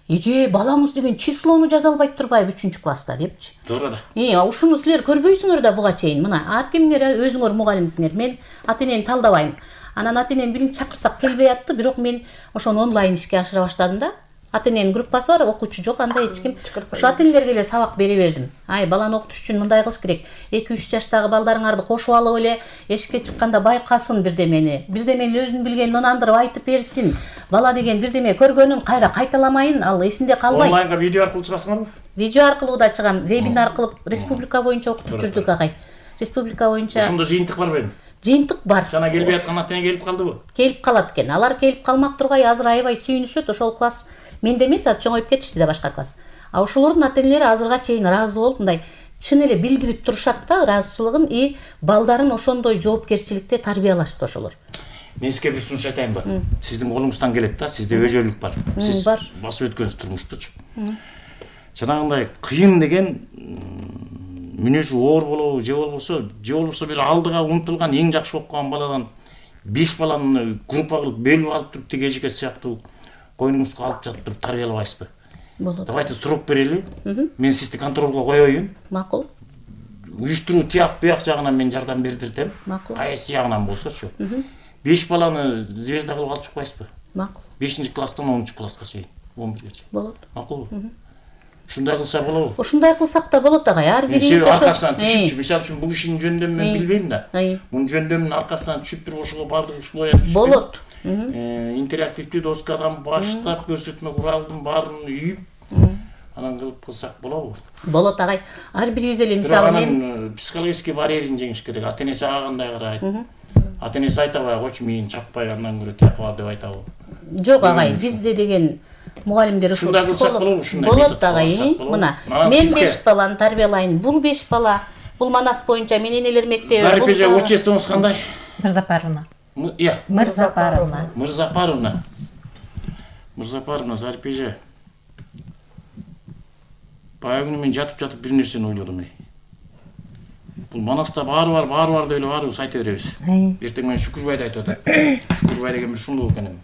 [SPEAKER 5] эже балаңыз деген числону жаза албайт турбайбы үчүнчү класста депчи.
[SPEAKER 2] Туура да.
[SPEAKER 5] Э, ушуну силер көрбөйсүңөр да буга чейин. Мына ар кимдер өзүңөр мугалимсиңер. Мен ата энени талдабайм. Анан ата энени биринчи чакырсак келбей атты, бирок мен ошону онлайн ишке ашыра баштадым да. Ата эненин группасы бар, окуучу жок, андай эч ким. Ошо ата энелерге эле сабак бере бердим. Ай, баланы окутуш үчүн мындай кылыш керек. эки үч жаштагы балдарыңарды кошуп алып эле эшикке чыкканда байкасын бирдемени. Бирдемени өзүнүн билгенин ынандырып айтып берсин. Бала деген бирдеме көргөнүн кайра кайталамайын, ал эсинде калбайт.
[SPEAKER 2] Онлайнга видео аркылуу чыгасыңарбы?
[SPEAKER 5] Видео аркылуу да чыгам, вебинар кылып республика боюнча окутуп жүрдүк агай. Республика боюнча.
[SPEAKER 2] Ошондо жыйынтык барбы эми?
[SPEAKER 5] Жыйынтык бар.
[SPEAKER 2] Жана келбей аткан ата эне келип калдыбы?
[SPEAKER 5] Келип калат экен. Алар келип калмак тургай азыр аябай сүйүнүшөт. Ошол класс менде эмес, азыр чоңоюп кетишти да башка класс. А ошолордун ата энелери азырга чейин ыраазы болуп, мындай чын эле билдирип турушат да ыраазычылыгын и балдарын ошондой жоопкерчиликте тарбиялашты ошолор.
[SPEAKER 2] Мен сизге бир сунуш айтайынбы? Сиздин колуңуздан келет да, сизде өжөлүк бар. Сиз басып өткөнсүз турмуштучу. Жанагындай кыйын деген мүнөзү оор болобу, же болбосо, же болбосо бир алдыга умтулган эң жакшы окуган баладан беш баланы группа кылып бөлүп алып туруп тиги эжеке сыяктуу койнуңузга алып жатып туруп тарбиялабайсызбы?
[SPEAKER 5] Болот.
[SPEAKER 2] Давайте срок берели. Мен сизди контролго коеюн.
[SPEAKER 5] Макул.
[SPEAKER 2] Уюштуруу тияк буяк жагынан мен жардам бердиртем.
[SPEAKER 5] Макул.
[SPEAKER 2] Кайсы ягынан болсочу. беш баланы звезда кылып алып чыкпайсызбы?
[SPEAKER 5] Макул.
[SPEAKER 2] бешинчи класстан онунчу класска чейин, он бирге чейин.
[SPEAKER 5] Болот.
[SPEAKER 2] Макулбу? Ушундай кылса болобу?
[SPEAKER 5] Ошондой кылсак да болот агай. Ар бирибиз
[SPEAKER 2] ошо аркасынан түшүпчү. Мисалы үчүн бул кишинин жөндөмүн мен билбейм да. Мунун жөндөмүнүн аркасынан түшүп туруп ошого бардык условия түшүп
[SPEAKER 5] болот.
[SPEAKER 2] Интерактивдүү доскадан баштап көрсөтмө куралдын баарын үйүп, анан кылып кылсак болобу?
[SPEAKER 5] Болот агай. Ар бирибиз эле мисалы
[SPEAKER 2] мен психологический барьерин жеңиш керек. Ата энеси ага кандай карайт? Ата энеси айтабай, койчу мени чакпай, андан көрө тияк бар деп айтабы?
[SPEAKER 5] Жок агай, бизде деген мугалимдер ушул психолог болот агай. Мына, мен беш баланы тарбиялайын. Бул беш бала, бул Манас боюнча мен энелер мектеби.
[SPEAKER 2] Зарипеже отчествоңуз кандай?
[SPEAKER 1] Мырзапаровна.
[SPEAKER 2] Иә.
[SPEAKER 1] Мырзапаровна.
[SPEAKER 2] Мырзапаровна. Мырзапаровна, Зарипеже. Баягы күнү мен жатып-жатып бир нерсени ойлодум. Бул Манаста баары бар, баары бар деп эле баарыбыз айта беребиз. Эртең менен Шүкүрбайды айтып атат. Шүкүрбай деген бир шундук экен.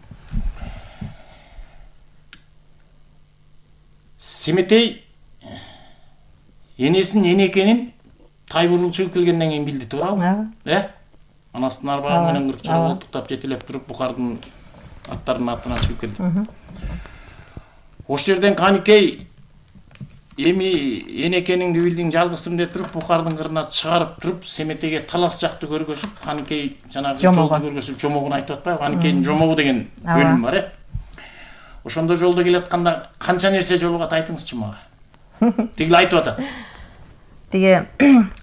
[SPEAKER 2] Семетей энесин эне экенин Тайбурул чыгып келгенден кийин билди, туурабы? Э? Анастын арбагы менен кыркчылык колтуктап жетелеп туруп Бухардын аттарынын артынан чыгып келди. Ошол жерден Каникей эми эне экениңди билдиң, жалгызсың деп туруп Бухардын кырына чыгарып туруп Семетейге талас жакты көргөзүп, Каникей жанагы жолду көргөзүп жомогун айтып атпайбы? Каникейдин жомогу деген бөлүм бар, э? Ошондо жолдо келатканда канча нерсе жолугат айтыңызчы мага. Тигил айтып атат.
[SPEAKER 1] Тиги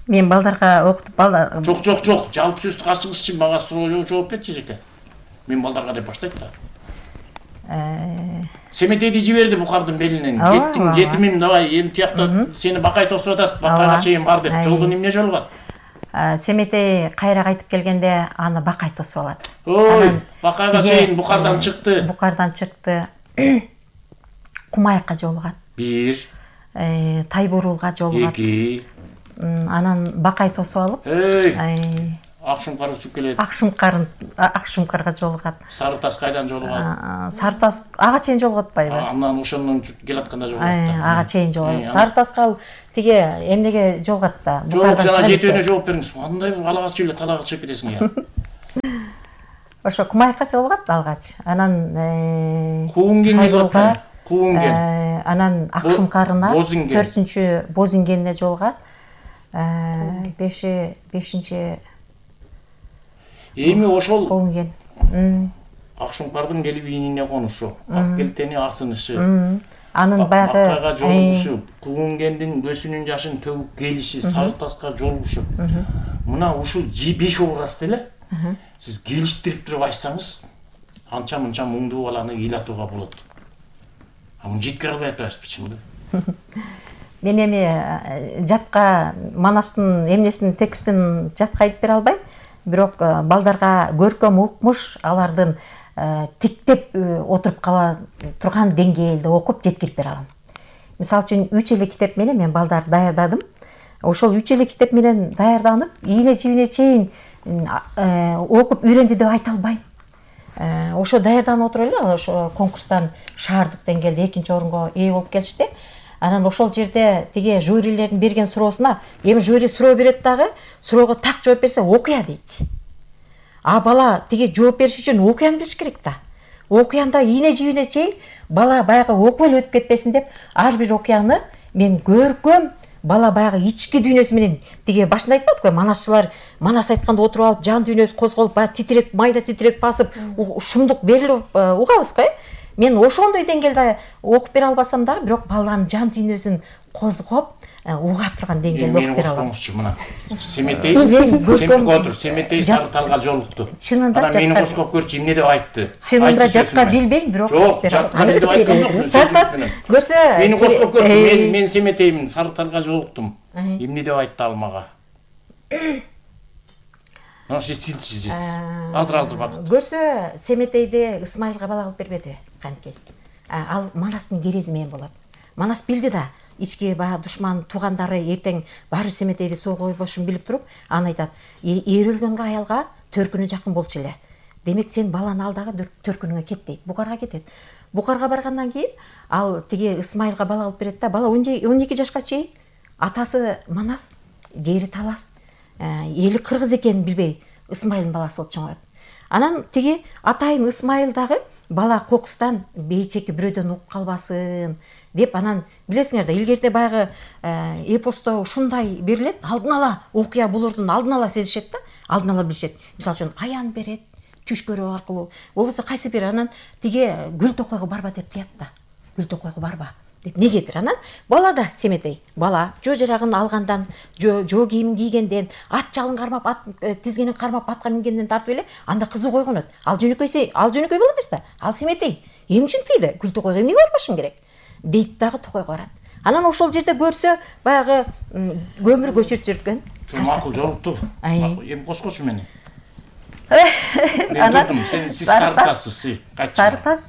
[SPEAKER 1] мен балдарга окутуп балдар.
[SPEAKER 2] Жок, жок, жок, жалпы сөздү ачыңызчы, мага суроо жооп берчи эжеке. Мен балдарга деп баштайт да.
[SPEAKER 1] Э,
[SPEAKER 2] Семетейди жиберди Бухардын белинен. Кеттиң, жетимим, давай, эми тиякта сени Бакай тосуп атат, Бакайга чейин бар деп. Жолдон эмне жолугат?
[SPEAKER 1] Семетей кайра кайтып келгенде аны Бакай тосуп алат.
[SPEAKER 2] Ой, Бакайга чейин Бухардан чыкты.
[SPEAKER 1] Бухардан чыкты. Кумайыкка жолугат.
[SPEAKER 2] Бир.
[SPEAKER 1] Тайбурулга жолугат.
[SPEAKER 2] Эки.
[SPEAKER 1] Анан Бакай тосуп алып,
[SPEAKER 2] Эй. Акшумкар учуп келет.
[SPEAKER 1] Акшумкарын Акшумкарга жолугат.
[SPEAKER 2] Сары Таш кайдан жолугат?
[SPEAKER 1] Сары Таш ага чейин жолугат атпайбы?
[SPEAKER 2] Андан ошондон келатканда жолугат да.
[SPEAKER 1] Ага чейин жолугат. Сары Ташка ал тиге эмнеге жолугат да?
[SPEAKER 2] Жок, жана жетөөнө жооп бериңиз. Кандай алгач эле талага чыгып кетесиң я.
[SPEAKER 1] Ошо Кумайка жолугат алгач. Анан
[SPEAKER 2] Куунгенге жолугат. Куунген.
[SPEAKER 1] Анан Акшумкарына төртүнчү Бозингенне жолугат. беши бешинчи
[SPEAKER 2] эми ошол
[SPEAKER 1] Куунген.
[SPEAKER 2] Акшумкардын келип ийнине конушу, ак келтени асынышы.
[SPEAKER 1] Анын баягы
[SPEAKER 2] Аккага жолугушу, Куунгендин көсүнүн жашын төгүп келиши, Сары Ташка жолугушу. Мына ушул беш образды эле сиз келиштирип туруп айтсаңыз, анча-мынча муңдуу баланы ыйлатууга болот. А муну жеткире албай атпайбызбы чынында?
[SPEAKER 1] Мен эми жатка Манастын эмнесин текстин жатка айтып бере албайм. Бирок балдарга көркөм укмуш алардын тиктеп отуруп кала турган деңгээлде окуп жеткирип бере алам. Мисалы үчүн үч эле китеп менен мен балдарды даярдадым. Ошол үч эле китеп менен даярданып, ийне жибине чейин окуп үйрөндү деп айта албайм. Ошо даярданып отуруп эле ошо конкурстан шаардык деңгээлде экинчи орунга ээ болуп келишти. Анан ошол жерде тиге жюрилердин берген суроосуна, эми жюри суроо берет дагы, суроого так жооп берсе окуя дейт. А бала тиге жооп бериш үчүн окуяны билиш керек да. Окуянда ийне жибине чейин бала баягы окуп эле өтүп кетпесин деп, ар бир окуяны мен көркөм бала баягы ички дүйнөсү менен тиге башында айтпадык го, манасчылар манас айтканда отуруп алып, жан дүйнөсү козголуп, баягы титирек, майда титирек басып, шумдук берилип угабыз го. Мен ошондой деңгээлде окуп бере албасам дагы, бирок баланын жан дүйнөсүн козгоп, уга турган деңгээлде окуп бере алам.
[SPEAKER 2] Мына Семетей, Семетей отур, Семетей Сары Талга жолукту.
[SPEAKER 1] Чынында
[SPEAKER 2] мени коскоп көрчү, эмне деп айтты?
[SPEAKER 1] Чынында жатка билбейм, бирок
[SPEAKER 2] окуп бере алам. Жок, жатка деп айткан жок.
[SPEAKER 1] Сары Таш көрсө,
[SPEAKER 2] мени коскоп көрчү, мен мен Семетеймин, Сары Талга жолуктум. Эмне деп айтты ал мага? Мына сиз тилчисиз. Азыр-азыр убакыт.
[SPEAKER 1] Көрсө, Семетейде Исмайылга бала алып бербеди, канткей. Ал Манастын керези менен болот. Манас билди да, ички баягы душман туугандары эртең баары Семетейди соого койбошун билип туруп, аны айтат: "Эр өлгөнгө аялга төркүнү жакын болчу эле. Демек сен баланы ал дагы төркүнүңө кет" дейт. Букарга кетет. Букарга баргандан кийин ал тиги Исмайылга бала алып берет да, бала он эки жашка чейин атасы Манас, жери талас, эли кыргыз экенин билбей Исмайылдын баласы болуп чоңоет. Анан тиги атайын Исмайыл дагы бала кокустан бейчеки бирөөдөн угуп калбасын деп, анан билесиңер да, илгерде баягы эпосто ушундай берилет, алдын ала окуя булурдун алдын ала сезишет да, алдын ала билишет. Мисалы үчүн аян берет, түш көрүү аркылуу, болбосо кайсы бир анан тиге Гүл токойго барба деп тият да. Гүл токойго барба деп негедир. Анан бала да Семетей, бала жөө жарагын алгандан, жөө кийимин кийгенден, ат жалын кармап, ат тизгенин кармап, атка мингенден тартып эле анда кызуу койгонот. Ал жөнөкөйсө, ал жөнөкөй боло эмес да. Ал Семетей эмне үчүн тийди? Гүл токойго эмнеге барбашым керек? Дейт дагы токойго барат. Анан ошол жерде көрсө, баягы көмүр көчүрүп жүргөн.
[SPEAKER 2] Макул жолукту. Эми коскочу мени.
[SPEAKER 1] Анан
[SPEAKER 2] сен сиз Сары Ташсыз, кайтчы.
[SPEAKER 1] Сары Таш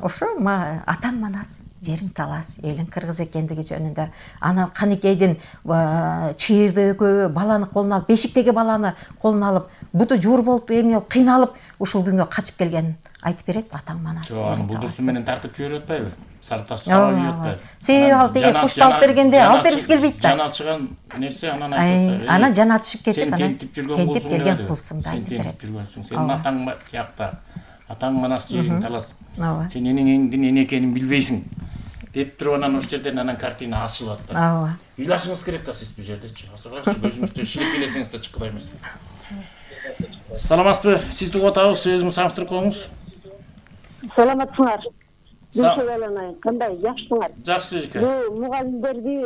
[SPEAKER 1] ошо атаң Манас, жериң талас, элиң кыргыз экендиги жөнүндө. Анан Канекейдин чыйырды экөө баланы колуна алып, бешиктеги баланы колуна алып, буту жуур болуп, эмне кыйналып, ушул күнгө качып келгенин айтып берет атаң Манас.
[SPEAKER 2] Жок, аны булдурсу менен тартып жиберип атпайбы? Сары Таш сабап ийип атпайбы?
[SPEAKER 1] Себеби ал тиги кушту алып бергенде алып бергиси келбейт да.
[SPEAKER 2] Жан ачыган нерсе анан айтып атпайбы?
[SPEAKER 1] Анан жан ачышып кетип,
[SPEAKER 2] анан тентип жүргөн
[SPEAKER 1] келген кулсуң да.
[SPEAKER 2] Сен тентип жүргөнсүң. Сенин атаң тиякта. Атаң Манас, жериң талас. Сен энеңдин эне экенин билбейсиң. Деп туруп анан ошол жерден анан картина ачылып атты.
[SPEAKER 1] Ооба.
[SPEAKER 2] Ыйлашыңыз керек да сиз бул жердечи. Азыркы көзүңүздө шилип келесиңиз да чыккыдай эмес. Саламатсызбы? Сизди угуп атабыз, өзүңүз саңыштырып коюңуз.
[SPEAKER 6] Саламатсыңар. Дүйшөгөлөнай, кандай жакшысыңар?
[SPEAKER 2] Жакшы эке.
[SPEAKER 6] Бул мугалимдерди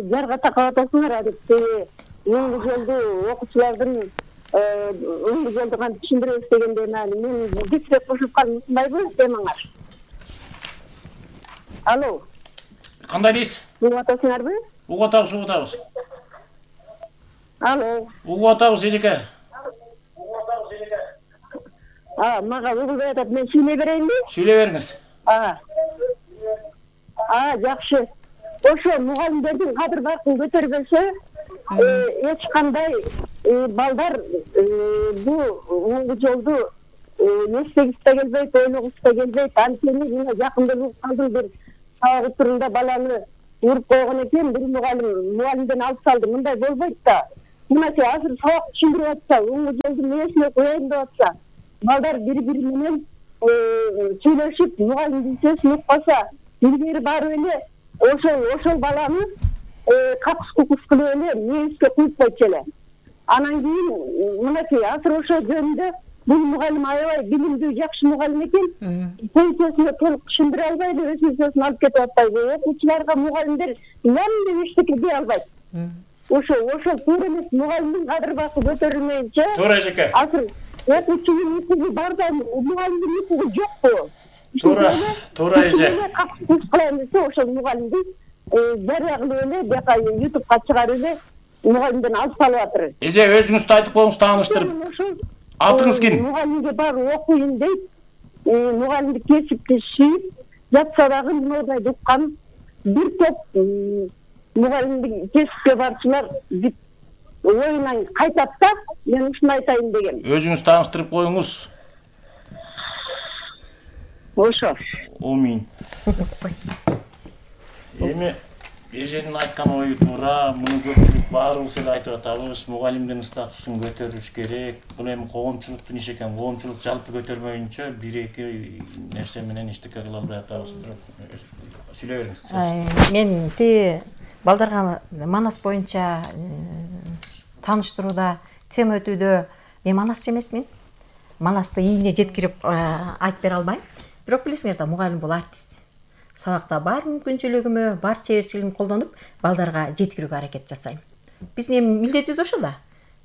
[SPEAKER 6] жарга такап атасыңар, адетте эң güzelдүү окуучулардын эң güzelдүү кантип түшүндүрөбүз дегенде мен кичирээк кошуп калдым, ушундайбы темаңар? Алло.
[SPEAKER 2] Кандай дейсиз?
[SPEAKER 6] Угуп атасыңарбы?
[SPEAKER 2] Угуп атабыз, угуп атабыз.
[SPEAKER 6] Алло.
[SPEAKER 2] Угуп атабыз эжеке.
[SPEAKER 6] А, мага угулбай атат, мен сүйлөй берейинби?
[SPEAKER 2] Сүйлөй бериңиз.
[SPEAKER 6] А. А, жакшы. Ошо мугалимдердин кадыр баркын көтөрбөсө, эч кандай балдар бул оңгу жолду эстегиси да келбейт, ойлогусу да келбейт. Анткени мына жакында калдым, бир сабак учурунда баланы уруп койгон экен, бир мугалим мугалимден алып салды. Мындай болбойт да. Мынача азыр сабак түшүндүрүп атса, оңгу жолду эмнесине коеюн деп атса, балдар бири-бири менен сүйлөшүп, мугалимдин сөзүн укпаса, илгери барып эле ошол ошол баланы какус кукус кылып эле мээске куюп койчу эле. Анан кийин мынакей азыр ошол жөнүндө бул мугалим аябай билимдүү, жакшы мугалим экен. Пенсиясына толук түшүндүрө албайт, өз сөзүн алып кетип атпайбы. Окуучуларга мугалимдер ям эчтеке дей албайт. Ошол ошол туура эмес, мугалимдин кадыр басы көтөрүлмөйүнчө.
[SPEAKER 2] Туура эжеке.
[SPEAKER 6] Азыр окуучунун укугу бар да, мугалимдин укугу жокпу?
[SPEAKER 2] Туура, туура эже.
[SPEAKER 6] Куш кылайын десе, ошол мугалимди жарыя кылып эле, бияка ютубка чыгарып эле мугалимден алып салып атыр.
[SPEAKER 2] Эже, өзүңүздү айтып коюңуз, тааныштырып. Атыңыз ким?
[SPEAKER 6] Мугалимге барып окуйын дейт, мугалимдик кесипти сүйүп жатса дагы мындай уккан бир топ мугалимдик кесипке барчылар бүт оюнан кайтат да, мен ушуну айтайын дегем.
[SPEAKER 2] Өзүңүз тааныштырып коюңуз.
[SPEAKER 6] Ошо.
[SPEAKER 2] Амин. Эми эженин айткан ою туура, муну көпчүлүк баарыбыз эле айтып атабыз, мугалимдин статусун көтөрүш керек. Бул эми коомчулуктун иши экен, коомчулук жалпы көтөрмөйүнчө бир-эки нерсе менен эчтеке кыла албай атабыз. Сүйлөй бериңиз.
[SPEAKER 1] Мен ти балдарга Манас боюнча тааныштырууда, тема өтүүдө мен манасчы эмесмин. Манасты ийине жеткирип айтып бере албайм. Бирок билесиңер да, мугалим бул артист. Сабакта бар мүмкүнчүлүгүмө, бар чеберчилигимди колдонуп, балдарга жеткирүүгө аракет жасайм. Биздин эми милдетибиз ошол да.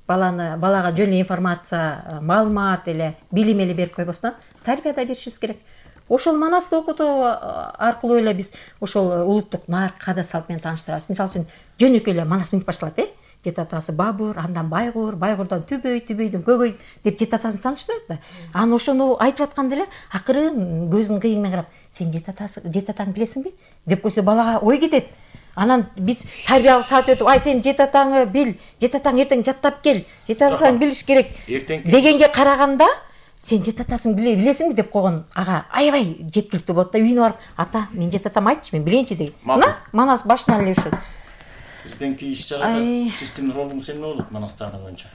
[SPEAKER 1] Баланы балага жөн эле информация, маалымат эле, билим эле берип койбостон, тарбия да беришибиз керек. Ошол Манасты окутуу аркылуу эле биз ошол улуттук нарк, каада салт менен тааныштырабыз. Мисалы үчүн жөнөкөй эле Манас минтип башталат, э? Жет атасы Бабур, андан Байгур, Байгурдан Түбөй, Түбөйдөн Көгөй деп жет атасын тааныштырат да. Анан ошону айтып атканда эле акырын көзүнүн кыйыгы менен карап, сен жет атасы, жет атаңды билесиңби деп койсо, балага ой кетет. Анан биз тарбиялык саат өтүп, ай сен жет атаңы бил, жет атаң эртең жаттап кел, жет атаң билиш керек дегенге караганда, сен жет атасын билесиңби деп койгон ага аябай жеткиликтүү болот да. Үйүнө барып, ата, мен жет атам айтчы, мен билейинчи деген. Мына Манас башынан эле ушул.
[SPEAKER 2] Бизденки иш-чарада сиздин ролуңуз эмне болот Манастардын боюнча?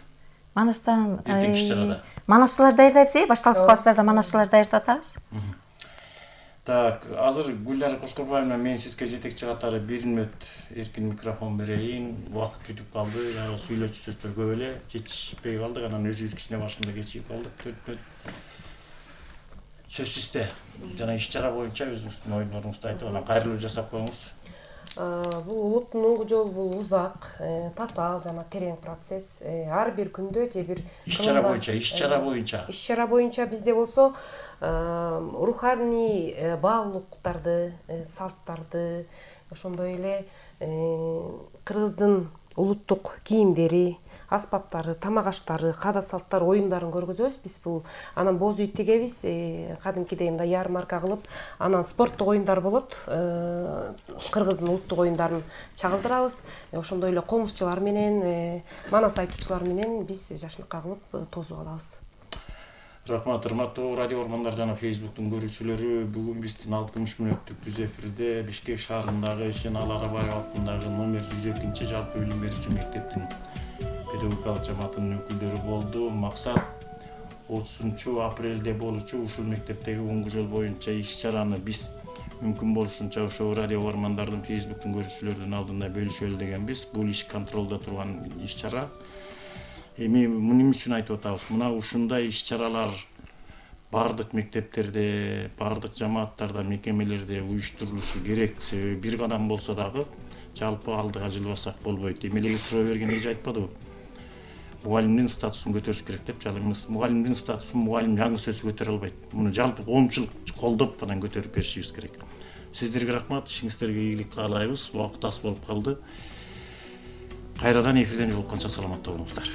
[SPEAKER 1] Манастан
[SPEAKER 2] эртеңки иш-чарада.
[SPEAKER 1] Манасчылар даярдайбыз, э, башталгыс класстарда манасчылар даярдап атабыз.
[SPEAKER 2] Так, азыр Гүлнара Кошкорбаевна, мен сизге жетекчи катары бир мүнөт эркин микрофон берейин. Убакыт кетип калды, сүйлөчү сөздөр көп эле, жетишпей калдык, анан өзүбүз кичине башында кечигип калдык. төрт мүнөт. Сөз сизде. Жана иш-чара боюнча өзүңүздүн оюңузду айтып, анан кайрылуу жасап коюңуз.
[SPEAKER 4] Бул улуттун оңгу жолу бул узак, татаал жана терең процесс. Ар бир күндө же бир
[SPEAKER 2] иш-чара боюнча, иш-чара боюнча.
[SPEAKER 4] Иш-чара боюнча бизде болсо руханий баалуулуктарды, салттарды, ошондой эле кыргыздын улуттук кийимдери, аспаптары, тамак аштары, каада салттар, оюндарын көргөзөбүз. Биз бул анан боз үй тегебиз, кадимкидей мындай ярмарка кылып, анан спорттук оюндар болот. Кыргыздын улуттук оюндарын чагылдырабыз. Ошондой эле комузчулар менен, манас айтуучулар менен биз жашыныкка кылып тосуп алабыз.
[SPEAKER 2] Рахмат, урматтуу радио Ормандар жана Фейсбуктун көрүүчүлөрү, бүгүн биздин алтымыш мүнөттүк түз эфирде Бишкек шаарындагы Шенал Арабаева атындагы номер жүз экинчи жалпы билим берүүчү мектептин педагогикалык жамаатынын өкүлдөрү болду. Максат отузунчу апрелде болчу ушул мектептеги оңгу жол боюнча иш-чараны биз мүмкүн болушунча ошо радио Ормандардын Фейсбуктун көрүүчүлөрдүн алдында бөлүшөлү дегенбиз. Бул иш контролдо турган иш-чара. Эми эмне үчүн айтып атабыз? Мына ушундай иш-чаралар бардык мектептерде, бардык жамааттарда, мекемелерде уюштурулушу керек. Себеби бир кадам болсо дагы жалпы алдыга жылбасак болбойт. Эмелеге суроо берген эже айтпадыбы? Мугалимдин статусун көтөрүш керек деп. Жана мугалимдин статусун мугалим жаңы сөзү көтөрө албайт. Муну жалпы коомчулук колдоп анан көтөрүп беришибиз керек. Сиздерге рахмат, ишиңиздерге ийгилик каалайбыз. Убакыт аз болуп калды. Кайрадан эфирден жолукканча саламатта болуңуздар.